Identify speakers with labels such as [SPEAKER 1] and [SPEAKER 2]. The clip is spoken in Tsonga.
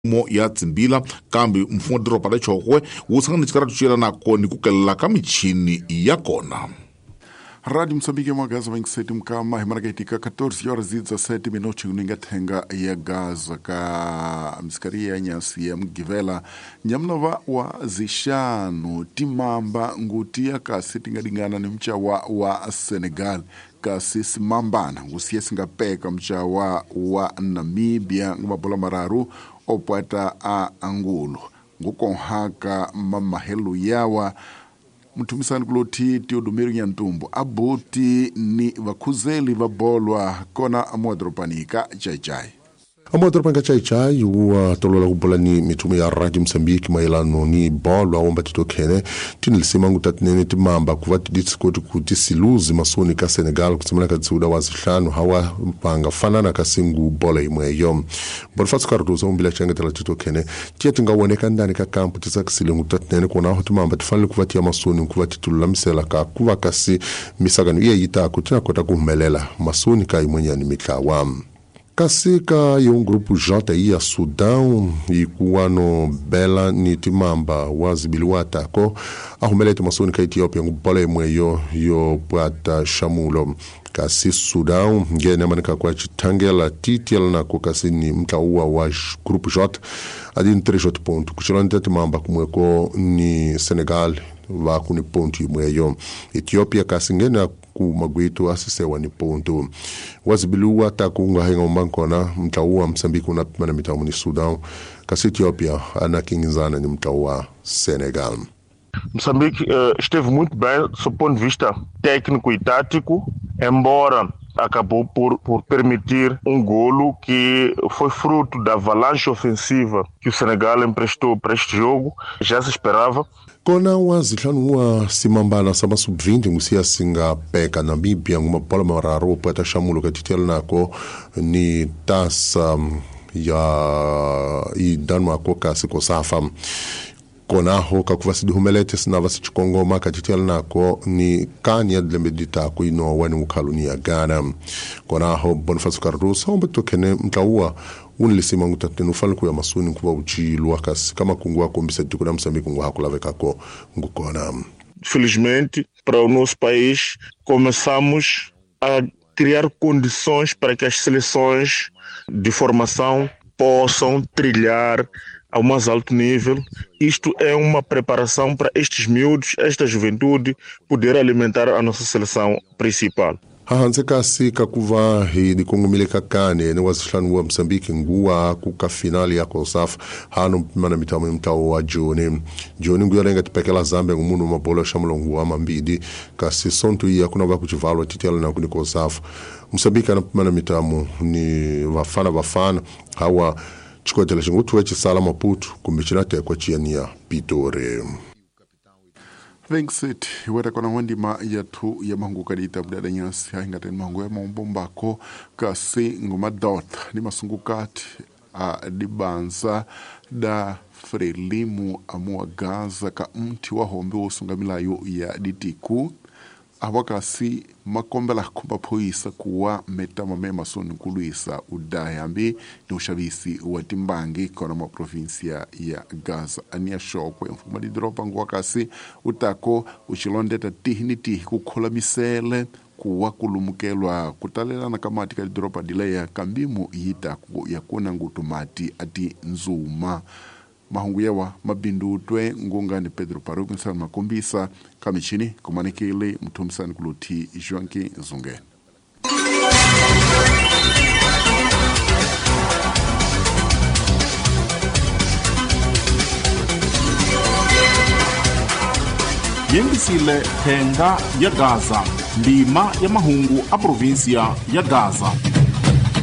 [SPEAKER 1] Mo ya tsimbila kambe mfumo wa doroba ra Chokwe wu sangana xikaratu xi yelanaka ni ku kelela ka michini ya kona.
[SPEAKER 2] Rádio Moçambique Magaza 27 mkama himaragaitika 14 horas e 17 minutos ninga thenga ya Gaza ka misikaria ya nyasi ya Mgivela nyamnova wa zixanu timamba nguti ya kasi tingadingana ni mchawa wa Senegal kasi simambana ngusiye singapeka mchawa wa Namibia ngumabola mararu opwata a Angulo ngukonhaka mamahelo yawa muthumisani kuloti Teodomiro Nyantumbu abuti ni vakhuzeli va bolwa kona amuadoropanika chaichai
[SPEAKER 3] amuadoropanika chaichai wa tolola ku bola ni mithumo ya Radio Mozambique mayelano ni bolwa womba titokhene tinilisimangu tatinene timamba kuva tiditsikoti kuti siluzi masoni ka Senegal kutsemana ka tsiuda wa zihlanu hawa panga fanana kasingu bola imweyo Bonifacio Cardoso umbila changetela titokhene tiye tingawoneka ndani ka kampu tisakisilengu tatinene kuonaho timamba tifanele kuva tiya masoni kuva titululamisela ka kuva kasi misakano iye yitako tinakota kuhumelela masoni ka imwenyani mitlawa kasi ka yon grupo J ya Sudão ikuwano bela ni timamba wazibiliwa tako ahumelete masoni ka Ethiopia ngubola imwe yo pwata shamulo kasi Sudão ngene manika kwa chitangela titiel nako kasi ni mtauwa wa grupo J adini 3 ponto kuchilonde timamba kumweko ni Senegal vakuni ponto imweyo Ethiopia kasi ngene ku magwitu asisewa ni ponto wazibiliwa takunga henga umbankona mtauwa Msambiki unapimana mitamu ni Sudan kasi Ethiopia anakinginzana ni mtauwa Senegal.
[SPEAKER 4] Moçambique esteve muito bem do ponto de vista técnico e tático, embora acabou por permitir um golo que foi fruto da avalanche ofensiva que o Senegal emprestou para este jogo, já se esperava.
[SPEAKER 3] Kona wa zihlanu wa simambana sama sub-20 ngusiya singapeka Namibia ngumabola mararu opwata shamulo katitela nako ni tasa ya idanwako kasi kosafa konaho kakuva sidihumelete sinava sichikongoma katitela nako ni kani ya dilembe ditako inowa ni ukhalu ya Ghana konaho Bonifacio Cardoso ombe tokene mtlauwa unilisima ngutatene ufanele kuya masuni nkuva uchilwa kasi kama kungu akombisa tiko la Moçambique ngu hakulavekako ngukona.
[SPEAKER 4] Felizmente para o nosso país começamos a criar condições para que as seleções de formação possam trilhar ao mais alto nível. Isto é uma preparação para estes miúdos, esta juventude, poder alimentar a nossa seleção principal.
[SPEAKER 3] Hahanse kasi kakuva hi dikongomile kakane ni wazihlanu wa Mozambique nguwa kuka finali ya COSAF hano mana mitamu mtawo wa Joni Joni nguya lenga tipekela Zambia ngumunu mabola shamulo nguwa mambidi kasi sonto iya kuna va kuchivalwa titela na kuni COSAF Mozambique anapimana mitamu ni vafana vafana hawa chikwetela xingutu chisala Maputo kumbe chinatekwa chiyaniya Pitori.
[SPEAKER 2] Vincent iweta kona wandima yathu ya mahungu kadita mdada nyasi haingateni mahungu ya maumbombako kasi ngumadot ni masungukati a dibanza da Frelimu amua Gaza ka mti wa hombe wosungamilayo ya ditiku awakasi makombela kumaphoyisa kuwa metama mema soni kulwisa udayambi ni ushavisi wa timbangi kona ma provinsia ya Gaza ania shokwe mfumo wa didoropa nguwakasi utako uchilondeta tihi ni tihi kukhola misele kuwa kulumukelwa kutalelana kamati ka didoropa dileya kambimu yitaku yakuna ngutumati ati nzuma mahungu yawa mabindutwe ngungani Pedro Paruku nsana makombisa kamichini kumanekele mthumisani kuluthi Joaquim Zungene.
[SPEAKER 1] Yingisile thenga ya Gaza ndima ya mahungu a provinsia ya Gaza.